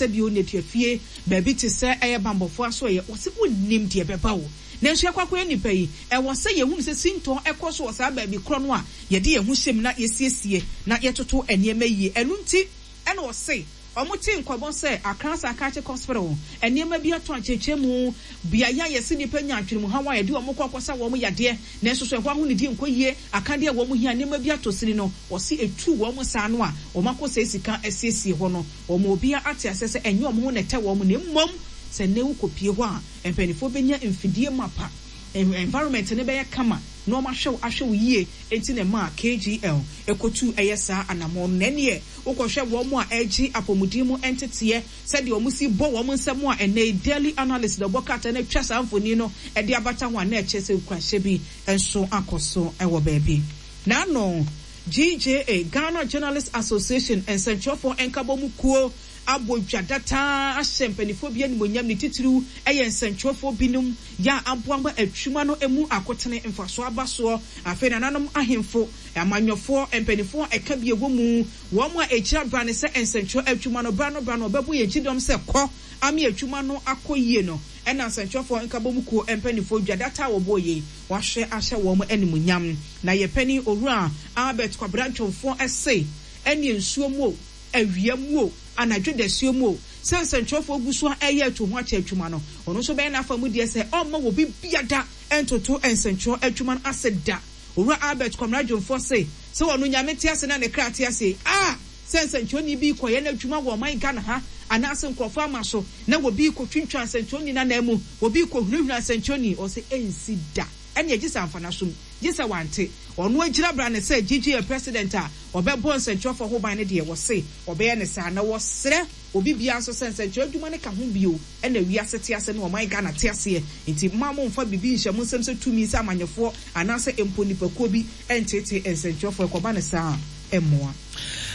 sɛbio nneduafie, baabi te sɛ ɛyɛ banbɔfoɔ asoɛeɛ, wɔse wonnim deɛ ɛbɛba o. Nanso yɛkɔ akɔyɛ nnipa yi, ɛwɔ sɛ yɛhunu sɛ sintɔ kɔ so wɔ saa baabi korɔ no a yɛde yɛn ho hyɛ mu na yɛsiesie na yɛtoto nneɛma yie. Ɛno nti na ɔse wɔtee nkɔmmɔ sɛ Accra Psychiatric Hospital nneɛma bi atɔ akyerɛkyerɛmu, beaeɛ a yɛse nnipa nya adwenemuhaw a yɛde wɔn kɔ akɔsa wɔn yadeɛ nanso so ɛhɔ ahonidie nkɔ yie, akadeɛ a wɔn hia, nneɛma bi atɔ sini no, wɔse ɛtuu wɔn saa no a wɔakɔsɛe sika asiesie hɔ no, wɔma obiara ate aseɛ sɛ ɛnyɛ wɔn ho na ɛtɛ wɔn na mmom sɛ nnɛ wokɔpue hɔ a mpaninfoɔ bɛnya mfidie mapa, environment no bɛyɛ kama na wɔahwɛ wo ahwɛ wo yie nti na ɛmaa KGL kɔtuu ɛyɛ saa anamɔn no. Na ɛnneɛ wokɔhwɛ wɔn a ɛregye apɔmuden mu nteteɛ sɛdeɛ wɔn si bɔ wɔn nsam a ɛnnɛ yi Daily Analyst na ɔbɔ krataa no atwa saa mfoni no de abata ho a na ɛkyerɛ sɛ nkuranhyɛ bi nso akɔ so wɔ baabi. N'ano, GJA, Ghana Journalists Association, nsɛnkyerɛwfoɔ nkabɔmu kuo abɔ dwa dataa ahyɛ mpaninfoɔ bi animuonyam, ne titiriw yɛ nsɛnkyerɛwfoɔ binom yɛ a aboa ma atwuma no mu akotene mfasoɔ aba soɔ. Afei nananom ahemfo, amanyɔfoɔ, mpaninfoɔ a ɛka bi ɛwɔ mu, wɔn a ɛkyira brane sɛ nsɛnkyerɛw adwuma no bra no bra no wɔbɛbɔ yɛn kyidɔm sɛ kɔ ame adwuma no akɔ yie no ɛna nsɛnkyerɛwfoɔ nkabɔmu kuo mpaninfoɔ dwa dataa a wɔbɔɔ yei wɔahwɛ ahyɛ wɔn animuonyam. Na yɛ panin Owura Albert Kwabena Dwomfoɔ se ɛneɛ nsuo mu o, awia mu o, anadwo dasuo mu o, sɛ nsɛnkyerɛwfoɔ gu so a ɛreyɛ atuhoakyɛ adwuma no, ɔno nso bɛyɛ n'afa mu deɛ sɛ ɔmma obi biada ntoto nsɛnkyerɛw adwuma no ase da. Owura Albert Kwamena Dwomfoɔ se, sɛ ɔno Nyame te ase na ne kra te ase yi, a, sɛ nsɛnkyerɛwni bi rekɔyɛ n'adwuma wɔ ɔman Ghana ha anaase nkorɔfoɔ ama so na obi rekɔtwintwan nsɛnkyerɛwni no anan mu, obi rekɔhunahuna nsɛnkyerɛwni, ɔse ɛnsi da. Ɛneɛ gye sɛ amfa n'asom, gye sɛ wante. Ɔno agyina bra ne sɛ GGA president a ɔbɛbɔ nsɛnkyerɛwfoɔ ho ban no deɛ wɔse ɔbɛyɛ no saa. Na wɔsrɛ obi biara nso sɛ nsɛnkyerɛw adwuma no ka ho bio na wiase te ase ne ɔman Ghana te aseɛ nti mma mo mfa biribi nhyɛ mo nsam sɛ tumi sɛ amanyɔfoɔ anaasɛ mpo nnipakuo bi nteetee nsɛnkyerɛwfoɔ ɛkɔba no saa a ɛmmoa.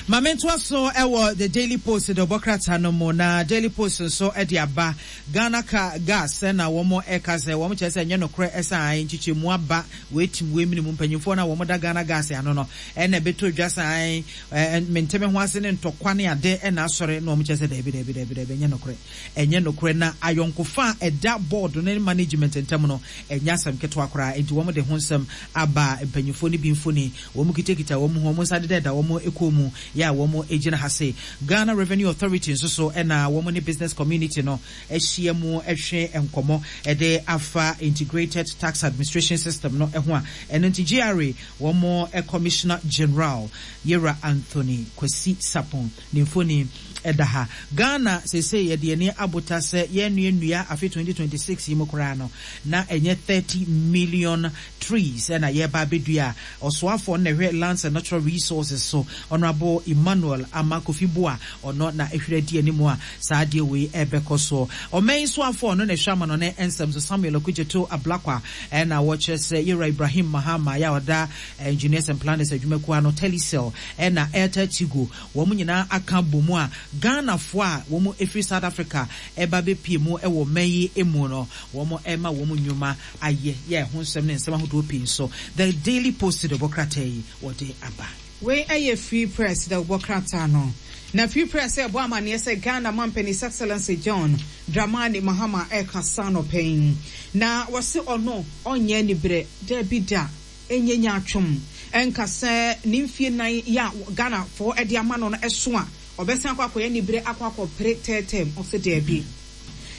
Ma mentoa so wɔ The Daily Post dawubɔ krataa no mu, na Daily Post nso de aba. Ghana ka gas na wɔn ɛka sɛ wɔn kyerɛ sɛ ɛnyɛ nokorɛ ɛsɛ ae nkyekyɛmu aba wei tim wei mene mu mpanyinfoɔ no a wɔn da Ghana gas ano no ɛna ɛbɛtɔ dwa sɛ ae mente me ho ase ne ntɔkwa ne ade ɛna asɔre na wɔn kyerɛ sɛ daabi daabi daabi daabi ɛnyɛ nokorɛ ɛnyɛ nokorɛ na ayɔnkofa a ɛda board no ne management ntam no ɛnyɛ asɛm ketewa koraa enti wɔn de ho nsɛm aba mpanyinfoɔ no bi mfoni wɔn kitakita wɔn ho wɔn nsa deda da wɔn kɔn mu yɛ a wɔn gyina ha se Ghana Revenue Authority nso so na wɔn ne business community no ahyia mu hwe nkɔmmɔ de afa Integrated Tax Administration System no ho a ɛno nti GRA wɔn Commissioner General Yewura Anthony Kwasi Sarpong ne mfoni da ha. Ghana seesei yɛde yɛn ani abota sɛ yɛnnua nnua afe 2026 yi mu koraa no na ɛnyɛ 30 million trees na yɛreba abɛdua a, ɔsoafoɔ no na ɛhwɛ Lands and Natural Resources so, Honourable Emmanuel Armah Kofi Buah, ɔno na ɛhwere adi anim a saa adeɛ wei ɛrebɛkɔ soɔ. Ɔman yi soafoɔ a ɔno na ɛhwɛ amanɔne nsɛm so, Samuel Okudzeto Ablakwa, na wɔkyerɛ sɛ Yewura Ibrahim Mahama yɛ a ɔda Engineers and Planners adwumakuo ano, Telecel, ɛna Airtel Tigo, wɔn nyinaa aka abɔ mu a Ghanafoɔ a wɔn firi South Africa ɛreba abɛpue mu wɔ ɔman yi mu no, wɔn rema wɔn nnwuma ayɛ yɛ ɛho nsɛm ne nsɛm ahodoɔ pii nso The Daily Post dawubɔ krataa yi wɔde aba. Wei yɛ Free Press dawubɔ krataa no. Na Free Press rebɔ amaneɛ sɛ Ghana Mampanin His Excellency John Dramani Mahama rekasa anɔpa yi. Na wɔse ɔno ɔnyɛ aniberɛ, daabi da, ɛnyɛ nyaatwom nka sɛ ne mfie nan yi a Ghanafoɔ de ama no no so a, ɔbɛsan akɔ akɔyɛ aniberɛ akɔ akɔpere third term. Ɔse daabi.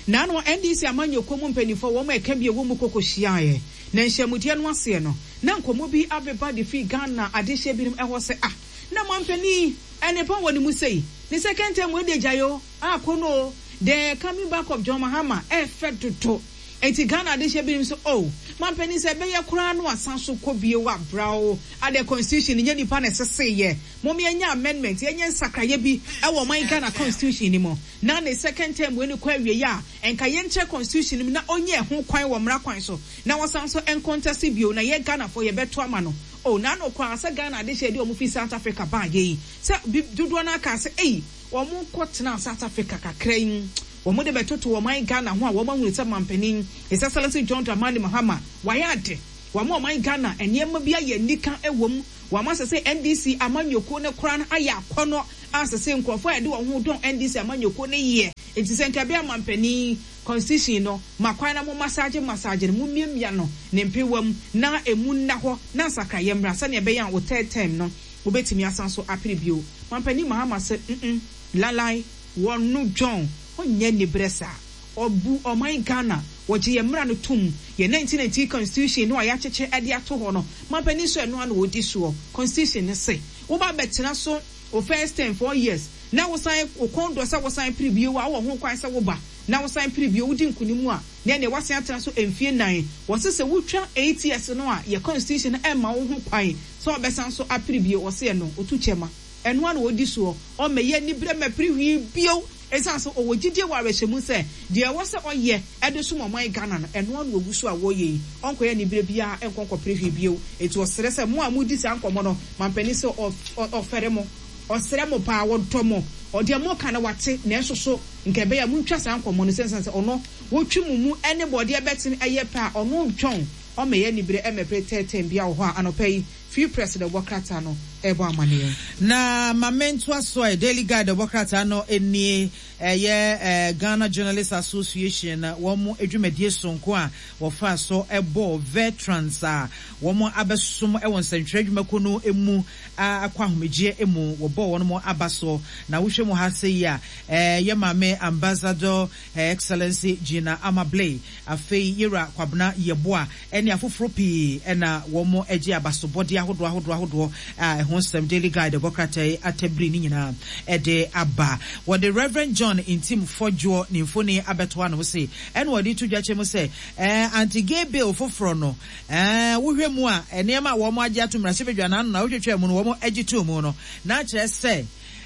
Naano NDC amanyɔkuo mu mpaninfoɔ wɔn a ɛka bi ɛwɔ mu kɔkɔ hyiaeɛ. Na nhyiamudeɛ no aseɛ no, na nkɔmmɔ bi abeba de firi Ghana adehyeɛ binom ɛhɔ sɛ ah, na mampanin yi nnepa wɔ ne mu sei, ne second term wei deɛ gyae o, ah kɔ no o, the coming back of John Mahama ɛɛfɛ dodo. Enti Ghana adehyeɛ binom nso oh, mampanin sɛ ɛbɛyɛ koraa no asan so kɔ bio a bra o, adɛ constitution no nyɛ nipa na ɛseseeɛ, mom yɛnyɛ amendment, yɛnyɛ nsakraeɛ bi ɛwɔ ɔman Ghana constitution no mu. Na ne second term wei no kɔ awieɛ a, nka yɛnkyerɛ constitution no mu na ɔnya ɛho kwan wɔ mmara kwan so na wɔsan nso ncontest bio na yɛ Ghanafoɔ yɛbɛto ama no. Oh, n'ano koraa sɛ Ghana adehyeɛ de wɔn firi South Africa baeɛ yi, sɛ bi dodoɔ no ara kaa sɛ ei, wɔn kɔ tenaa South Africa kakra yi, wɔn de bɛtoto ɔman Ghana ho a wɔn ahunu sɛ manpanin His Excellency John Dramani Mahama wayɛ ade, wama ɔman Ghana nneɛma bi ayɛ anika wɔ mu, wama sɛsɛ NDC amanyɔkuo no koraa no ayɛ akɔnnɔ. a sese nkurɔfoɔ a yɛde wɔn ho dɔn NDC amanyɔkuo no yɛ. Enti sɛ nka ɛbɛyɛ amanpanin constitution no ma kwan na mo massage massage no, mo miamia no ne mpewa mu na ɛmu nna hɔ na nsakraeɛ mmra sɛdeɛ ɛbɛyɛ a wo third term no wobɛtumi asan so apere bio. Manpanin Mahama se mm lalai wɔno John ɔnyɛ aniberɛ saa. Ɔbu ɔman Ghana, wɔgye yɛn mmara no tom, yɛn 1990 constitution no a yɛakyekyɛ de ato hɔ no, manpanin nso ɛno ara na ɔdi soɔ. Constitution no se woba bɛtena so wo first term, 4 years, na wosan wo kɔn dɔ sɛ wosan pere bio a, wowɔ ho kwan sɛ woba na wosan pere bio, wodi nkunim a, na ɛneɛ woasan atena so mfie nnan. Wɔse sɛ wotwa 8 years no a, yɛn constitution no mma wo ho kwan sɛ wobɛsan so apere bio. Wɔse ɛno, ɔtu kyɛma. Ɛno ara na ɔdi soɔ. Ɔmmɛyɛ aniberɛ mmɛpere hwee bio. Esiane sɛ ɔwɔ gyidie wɔ awerɛhyɛmu sɛ deɛ ɛwɔ sɛ ɔyɛ de som ɔman Ghana no, ɛno ara na ɔgu so a ɔreyɛ yi, ɔnkɔyɛ aniberɛ biara nkɔ nkɔpere hwee bio. Enti ɔsrɛ sɛ mo a modi saa nkɔmmɔ no, mampanin sɛ ɔfɛre mo, ɔsrɛ mo paa, ɔdɔ mo, deɛ moreka no wate, nanso so nka ɛbɛyɛ a montwa saa nkɔmmɔ no, esiane sɛ ɔno wɔtwe mo mu ne bɔdeɛ bɛtene ɛyɛ pɛ a, ɔno ntwɔn ɔmmɛyɛ aniberɛ mmɛpere tɛɛtɛɛm biara wɔ hɔ a anɔpa yi Free Press na ɛwɔ krataa no rebɔ amaneɛ. Na ma mentoa so ɛ, Daily Guide ɛwɔ krataa no nie, ɛyɛ Ghana Journalists Association wɔn dwumadie sononko a wɔfaa so bɔɔ veterans a wɔn abɛsom wɔ nsɛntwerɛ adwumakuo no mu akɔ ahomegyeɛ mu, wɔbɔɔ wɔn aba soɔ. Na wohwɛ mu ha sei a, yɛ maame Ambassador Her Excellency Gina Amabley, afei Yewura Kwabena Yeboah, ne afoforɔ pii na wɔgye abasobɔdeɛ ahodoɔ ahodoɔ ahodoɔ a ɛho nsɛm Daily Guide bɔ krataa yi atabiri ne nyinaa de aba. Wɔde Rev. John Ntim Fordjour ne mfoni abɛto ano se ɛna wɔde to dwa kyerɛ mu sɛ anti-gay bill foforɔ no wohwɛ mu a nneɛma a wɔagye ato mmarahyɛbadwa no ano na wotwetwaa mu no wɔgye too mu no na akyerɛ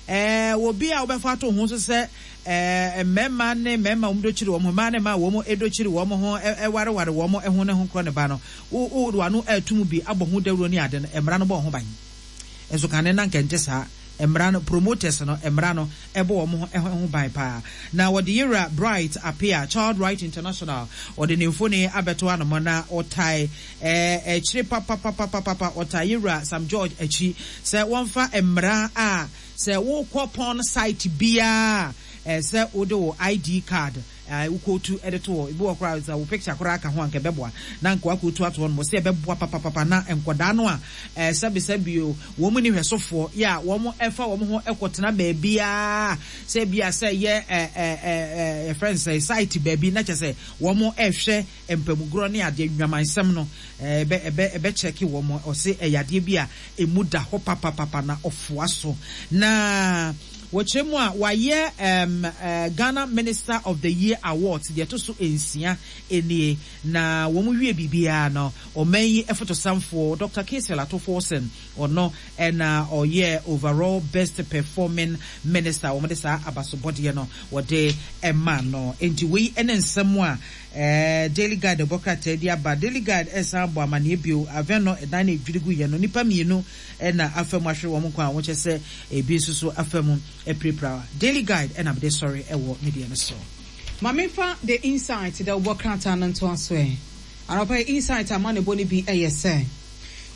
sɛ obi a wobɛfa ato ho so sɛ Mmarima ne mmarima a wɔdɔ kyiri wɔn ho, mmaa ne mmaa a wɔdɔ kyiri wɔn ho wareware wɔn ho ne ho korɔ ne ba no, wode w'ano reto mu bi abɔ ho dawuro ne ade no, mmara no bɔ wo ho ban. Nso kane na anka ɛnte saa. Mmara no, promoters no, mmara no bɔ wɔn ho ban paa. Na wɔde Yewura Bright Appiah, Child Right International, ɔde ne mfoni abɛto hanom na ɔtae akyire papapapapapa, ɔtae Yewura Sam George akyi sɛ wɔmfa mmara a Sɛ wokɔ porn site biara a, ɛsɛ sɛ wode wo ID card a wokootu de to hɔ. Ebi wɔ hɔ koraa a, sɛ wo picture koraa ka ho a, anka ɛbɛboa. Na anka woakootu ato hɔ nom. Wɔse ɛbɛboa papapapa na nkwadaa no a sɛbesɛbe o, wɔn nni hwɛsofoɔ yɛ a wɔfa wɔn ho kɔtena baabiara, sɛ ebia sɛ ɛyɛ yɛfrɛ no sɛn, site baabi na kyerɛ sɛ wɔrehwɛ mpamugroɔ ne adeɛ, nnwamansɛm no, ɛbɛ, ɛbɛ, ɛbɛkyɛke wɔn. Ɔse ɛyɛ adeɛ bi a ɛmu da hɔ papapapa na ɔfoa so. Na wɔkyerɛ mu a, wayɛ ɛɛm, Ghana Minister of the Year Awards deɛ ɛto so nsia nie. Na wɔn wie biribiara no, ɔman yi fotosanfoɔ, Doctor Cassiel Ato Forson, Ɔno na ɔyɛɛ Overall Best Performing Minister a wɔde saa abasobɔdeɛ no wɔde maa no. Enti wei ne nsɛm a Daily Guide bɔ krataa de aba. Daily Guide resan abɔ amaneɛ bio, Avɛn dan no a ɛdwiri guiɛ no, nnipa mmienu na afa mu ahwere wɔn nkwa a wɔkyerɛ sɛ ebi nso so afa mu apirapira. Daily Guide na mede sɔre wɔ me deɛ no so. Ma memfa The Insight dawubɔ krataa no ntoa so ɛ. Anɔpa yi Insight amanebɔ no bi yɛ sɛ,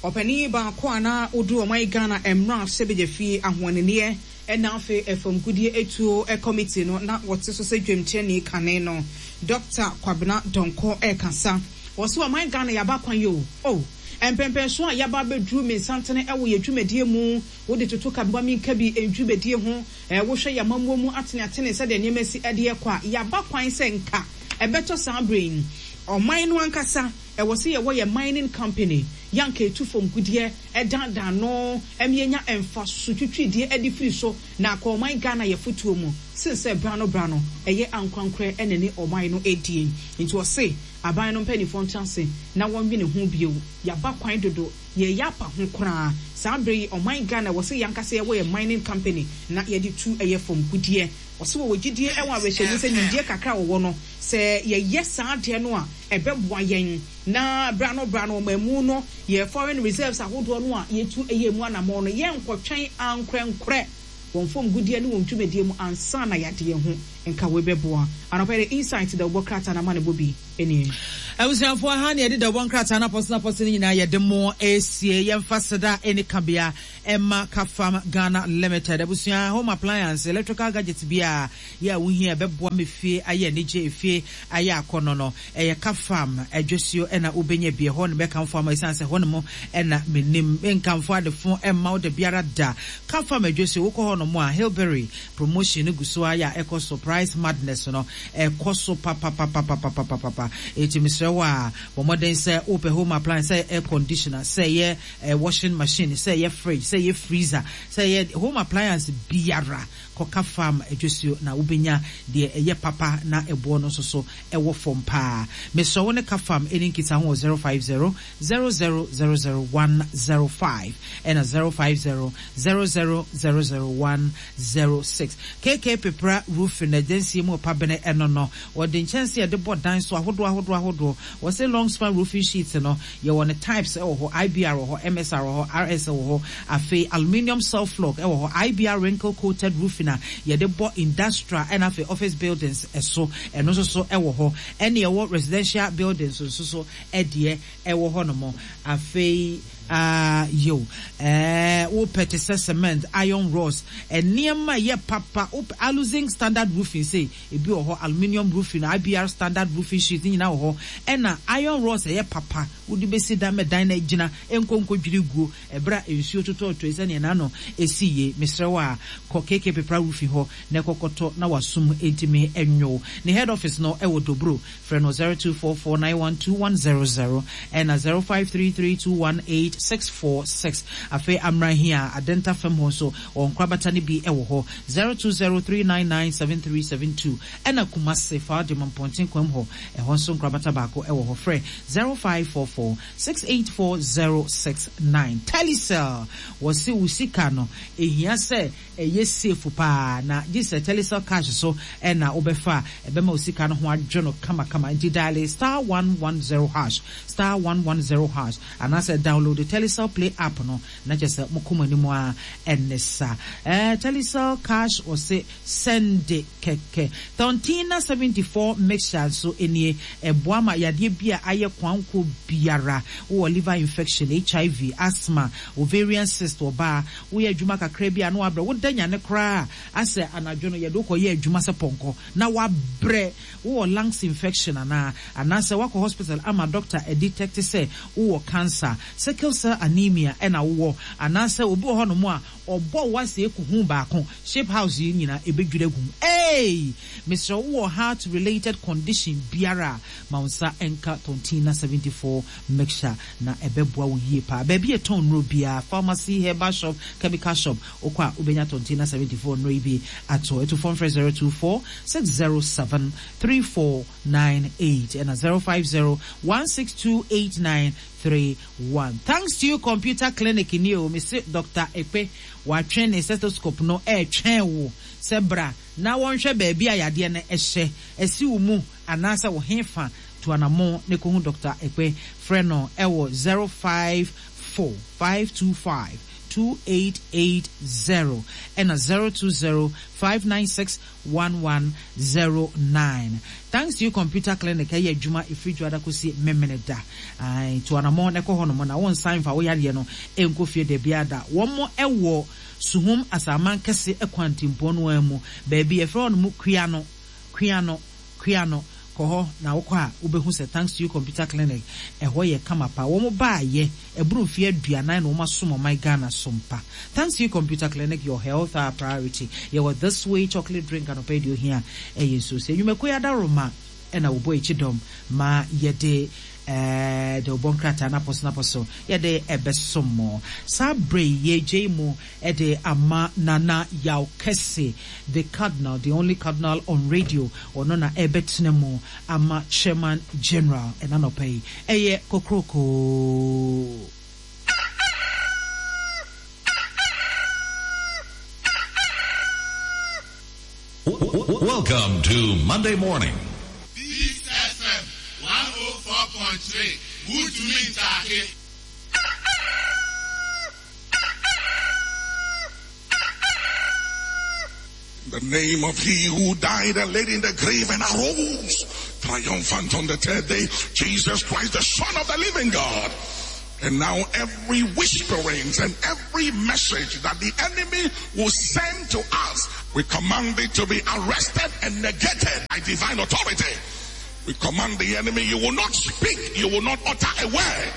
Ɔpanin baako a na ɔduru ɔman Ghana mmarahyɛbadwafie ahoɔnenneɛ na afei famgudeɛ atuo committee no na ɔte so sɛ dwamkyerɛni kane no, Dɔkta Kwabena Donkor rekasa. Ɔse ɔman Ghana yɛaba kwan yi o, oh, mpɛnpɛnsoɔ a yɛaba abɛduru mensantene wɔ yɛn dwumadie mu, wode toto ka ma menka bi ndwumadie ho, wohwɛ yɛn amammuo mu ateneatene sɛdeɛ nneɛma si de rekɔ a, yɛaba kwan sɛ nka ɛbɛtɔ saa berɛ yi ɔman no ankasa Ɛwɔ sɛ yɛwɔ yɛn mining company yɛ anka ɛtu fam gudeɛ daadaa no ma yɛnya mfaso twitwideɛ de firi so na akɔ ɔman Ghana yɛ fotuo mu sen sɛ berano berano ɛyɛ ankorankorɛ na ɛne ɔman no ɛdie. Nti ɔse aban no mpaninfoɔ ntra ase na wɔnwene ho bio. Yɛaba kwan dodo, yɛreyɛ apa ho koraa. Saa berɛ yi ɔman Ghana ɛwɔ sɛ yɛankasa yɛwɔ yɛn mining company na yɛde tu ɛyɛ fam gudeɛ. Ɔse wɔwɔ gyidie wɔ awerɛhyɛmu sɛ nimdeɛ kakra a wɔwɔ no sɛ yɛyɛ saa adeɛ no a ɛbɛboa yɛn na berɛ ano berɛ ano ɔmanmu no yɛ foreign reserves ahodoɔ no a yɛtu yɛ mu anamɔn no yɛnkɔtwɛn ankorɛnkorɛ. wɔn fam gudeɛ ne wɔn dwumadie mu ansa na yɛade yɛn ho. Nka wei bɛboa. Anɔpa yi de Insight dawubɔ krataa no amanebɔ bi nie. Abusuafoɔ, ha na yɛde dawubɔ nkrataa no apɔsonapɔso no nyinaa yɛde mo resie. Yɛmfa seda ɛni kabea ɛma Kafam Ghana Limited. Abusua, home appliance, electrical gadgets biara yɛ a wohia ɛbɛboa ma efie ayɛ anigye, efie ayɛ akɔnnɔ no, ɛyɛ Kafam adwasuo na wobɛnya bi. Ɛhɔ na mɛkamfo ama ɛsiane sɛ ɛhɔ nom na menim. Menkamfo adefo mma wo dabiara da. Kafam adwasuo, wokɔ hɔ nom a, Hillberry Promotion no gu so ara yɛ a ɛkɔ so, price madness no ɛkɔ so papapapapapapapa. Enti mesrɛ wo a, bɔ mmɔden sɛ wopɛ home appliance, sɛ ɛyɛ air conditioner, sɛ ɛyɛ washing machine, sɛ ɛyɛ fridge, sɛ ɛyɛ freezer, sɛ ɛyɛ home appliance biara, kɔka farm adwasuo na wobɛnya deɛ ɛyɛ papa na ɛboɔ no nso so ɛwɔ fam paa. Mesrɛ wo ne ka farm ɛni nkitaho wɔ 050 0000 105 ɛna 050 0000 106. KK Pepra Roofing adansie mu ɔpa bene ɛno no wɔde nkyɛnse a yɛde bɔ dan so ahodoɔ ahodoɔ ahodoɔ. Wɔse long span roofing sheets no yɛwɔ no types ɛwɔ hɔ, IBR wɔ hɔ, MSR wɔ hɔ, RS wɔ hɔ, afei aluminium self flock ɛwɔ hɔ, IBR wrinkle coated roofing a yɛde bɔ industrial ɛna afei office buildings ɛso ɛno nso so ɛwɔ hɔ, ɛne ɛwɔ residential buildings nso so ɛdeɛ ɛwɔ hɔ nom. Afei ah yow eh wopɛ te sɛ cement, iron rods, nneɛma a ɛyɛ papa, wopɛ aluzinc standard roofing sei, ebi wɔ hɔ, aluminium roofing, IBR standard roofing sheet ne nyinaa wɔ hɔ, ɛna iron rods a ɛyɛ papa wode bɛsi dan ma dan no agyina, ɛnkɔ nkɔdwiri guo ɛberɛ a nsuo totɔɔtɔi sɛdeɛ n'ano ɛsi yie. Mesrɛ wo a, kɔ KK Pepra Roofing hɔ na ɛkɔkɔtɔ na w'asom ntumi nnwo wo. Ne head office no wɔ Dobro. Frɛ no 0244912100 ɛna 0533218646. Afei Amrahia, Adenta fam hɔ nso, wɔn nkorabata no bi wɔ hɔ, 0203997372. Ɛna Kumasi, Faadim, Mpɔnten Kwam hɔ, ɛhɔ nso nkorabata baako wɔ hɔ. Frɛ 0544684069. Telecel, wɔse wo sika no, ɛhia sɛ Ɛyɛ safe paa na gye sɛ Telecel cash so na wobɛfa a ɛbɛma wo sika no ho adwo no kamakama. Nti diale star 110 hash, star 110 hash anaasɛ download Telecel Play app no na kyerɛ sɛ mokɔ mo anim ara ɛne sa. Ɛɛ Telecel cash wɔse sɛnde kɛkɛ. Thontina 74 mixture nso nie, ɛboa ma yadeɛ bi a ayɛ koankorɔ biara, wowɔ liver infection, HIV, asthma, ovarian cyst, ɔbaa Woyɛ adwuma kakra bi a na woabrɛ. Woda nyane koraa a, asɛ anadwo no yɛde wo kɔyɛ adwuma sɛ pɔnkɔ na woabrɛ. Wowɔ lungs infection anaa? Anaasɛ woakɔ hospital ama doctor adetect sɛ wowɔ cancer, sickle cell anemia na wowɔ? Anaasɛ obi wɔ hɔnom a ɔbɔ wo asɛ kuhu baako, ship house yi nyinaa ɛbɛdwiri agu mu. Eei! Mesrɛ wo wowɔ heart related condition biara a, ma wo nsa nka Tontina 74 mixture na ɛbɛboa wo yie paa. Baabi a yɛtɔn nnuro biara, pharmacy, herbal shop, chemical shop, wokɔ a wobɛnya Tontina 74 nnuro yi bi atɔ. Atu fam frɛ 024 607 3498 ɛna 050 162 8931. Thanks to you computer clinic nie o, mese Doctor Ekpe watwe ne stethoscope no ɛretwɛn wo sɛ bra na wɔnhwɛ baabi a yadeɛ no hyɛ, asi wo mu anaasɛ wo hefa, tu anammɔn na kɔhu Dɔkta Ekpe. Frɛ no wɔ 054 525 2880 ɛna 020 596 1109. Thanks to you Computer Clinic ɛyɛ adwuma ɛfiri Dwoada kɔsi Memeneda. Ae, tu anammɔn na kɔ hɔnom na wonsan mfa wo yadeɛ no nkɔ fie dabiara da. Wɔn wɔ Suhum Asaman Kɛse kwantempɔn no ara mu, baabi yɛfrɛ hɔnom Kuano, Kuano. Kua no, kɔ hɔ na wokɔ a wobɛhu sɛ Thanks to You Computer Clinic ɛhɔ yɛ kama paa. Wɔn baayɛ ɛboro mfeɛ aduanan na wɔn asom ɔman Ghana som pa. Thanks to You Computer Clinic, your health our priority. Yɛwɔ This Way Chocolate Drink anɔpa yi deɛ ohia ɛyɛ nsuo. Sɛ nnwumakuo yi adaworoma ɛna wɔbɔ akyi dɔm ma yɛde ɛɛ de wɔbɔ nkrataa no apɔso no apɔso yɛde ɛbɛsom mo. Saa berɛ yi yɛregyae mu de ama Nana Yaw Kɛse, the Cardinal, the only Cardinal on radio, ɔno na ɛrebɛtena mu ama Chairman General ɛna anɔpa yi. Ɛyɛ kokrokoo. Welcome to Monday morning. Peace FM 104.3 Wuntumi Ntaake. the name of he who died and laid in the grave and arose triumphant on the third day, Jesus Christ, the Son of the living God. And now every whisperings and every message that the enemy will send to us, we command it to be arrested and negated by divine authority. We command the enemy, you will not speak, you will not utter a word.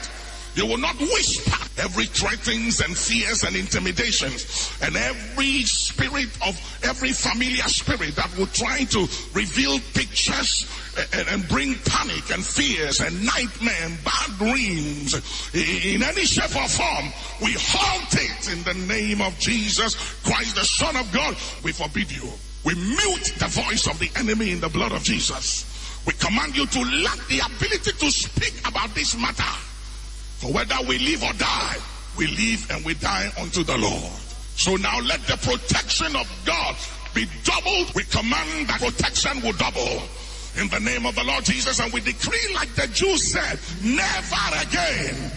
You will not whisper every threatenings and fears and intimidations and every spirit of every familiar spirit that will try to reveal pictures and, and bring panic and fears and nightmare and bad dreams in any shape or form. We halt it in the name of Jesus Christ, the Son of God. We forbid you. We mute the voice of the enemy in the blood of Jesus. We command you to lack the ability to speak about this matter. For whether we live or die, we live and we die unto the Lord. So now let the protection of God be doubled. We command that protection will double. In the name of the Lord Jesus, and we decree like the Jews said, never again.